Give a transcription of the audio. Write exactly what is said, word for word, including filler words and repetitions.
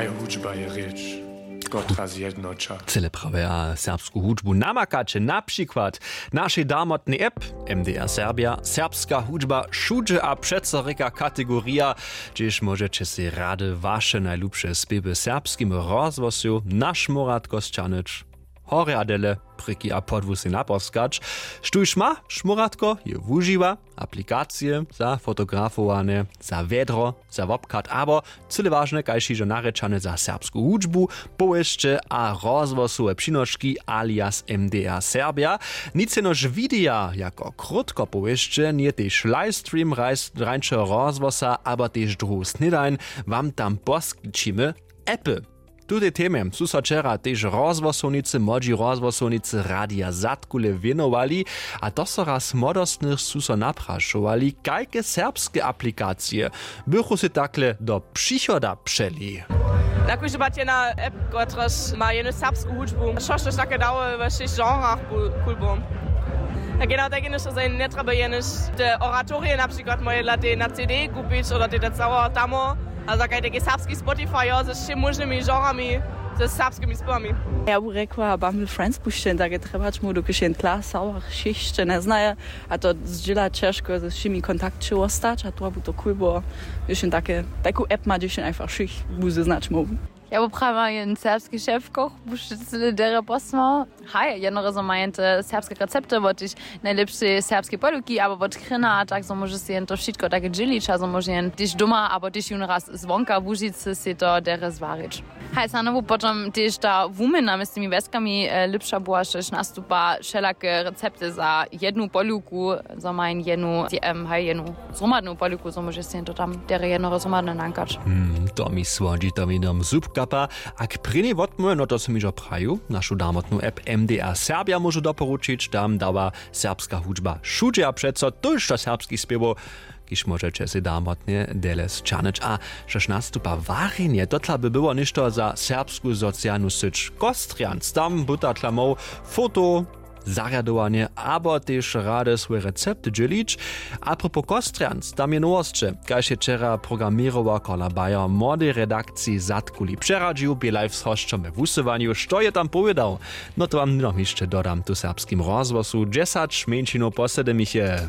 Hudźba je rěč, kotra zjednoća. Cyle prawje a serbsku hudźbu namakaće na přikład našej darmotnej app M D R Serbia, serbska hudźba wšudźe a přeco rěka kategorija, hdźež móžeće sej rady waše najlubše spěwy w serbskim rozhłosu na šmóratko sćahnyć. Horje a dele, prěki a podłu sej naposkać. Štóž ma šmóratko, je wužiwa aplikacije za fotografowane, za wjedro, za wobchad abo cyle wažne, kaž hižo narěčane, za serbsku hudźbu, powěsće a rozhłosowe přinoški alias M D R Serbia. Nic jenož wideja jako krótkopowěsće, njeje tež livestream rajs-, rańšeho rozhłosa abo tež druhu snědań wam tam poskićimy. Appy. Tutej temje su so wčera tež rozhłosownicy, młodźi rozhłosownicy Radija Zadkule wěnowali, a to so raz młodostnych su so naprašowali, kajke serbske aplikacije bychu sej takle do přichoda přeli. Na kóždy bać jedna app, kotraž ma jenož serbsku hudźbu, štož take dało we wšěch genrach, cool było. A genau tak jenož, zo njetrjeba jenož te oratorije na přikład moje dla tej na C D kupić oder tej da cało tamo, a za kaj taki serbski Spotify, jo, ze wšěmi móžnymi genrami, ze serbskimi spěwami. Ja bu rjekła Bumble Friends pušćeń, tak je trjebać mu, dokelž jen tla sałach wšěch hišće njeznaje, a to zdźěla ćežko ze wšěmi kontakće wostać, a to bu to cool było, hdźež jen take, taku app ma, hdźež jen einfach wšěch bu zeznać móhł. Ja bu prawa jen serbski šefkoch, buž cyle derje posłał. Haj, jednorazo maja te serbske recepty wot tež najlěpšej serbskej poduki abo wot krina, a tak zo móže sej jen to wšitko take dźělić a zo móže jen tež doma abo tež jón raz zwonka Łužicy sej to derje zwarić. Haj, snano bu potom tež ta wuměna mjez tymi wjeskami, e, lěpša była, štož nastupa wšelake recepty za jednu poduku, zo ma jen jednu, em, haj, jednu zhromadnu poduku, zo móže sej to tam derje jednoho zhromadne nankać. Hmm, to mi słodźi, to mi dom zub kapa. A k prěni wotmóhłe, no to sym hižo prajił, našu darmotnu app M D R Serbia móžu doporučić, tam dawa serbska hudźba wšudźe a přeco tójšto serbskich spěwow, kiž móžeće sej darmotnje dele sćahnyć. A štož nastupa warjenje, to tla by było něšto za serbsku socialnu syć Kostrjanc, tam buta tla móhł foto, zarjadowanje abo tež rady swój recept dźělić. A propos Kostrjanc, tam je nowosće, kaž je wčera programěrował Carla Bayer młodej redakciji Zadkuli přeradźił, bě live z hosćom we wusyłanju, što je tam powědał. No to wam hnydom hišće dodam tu w serbskim rozhłosu dźesać mjeńšinow po sedymich je.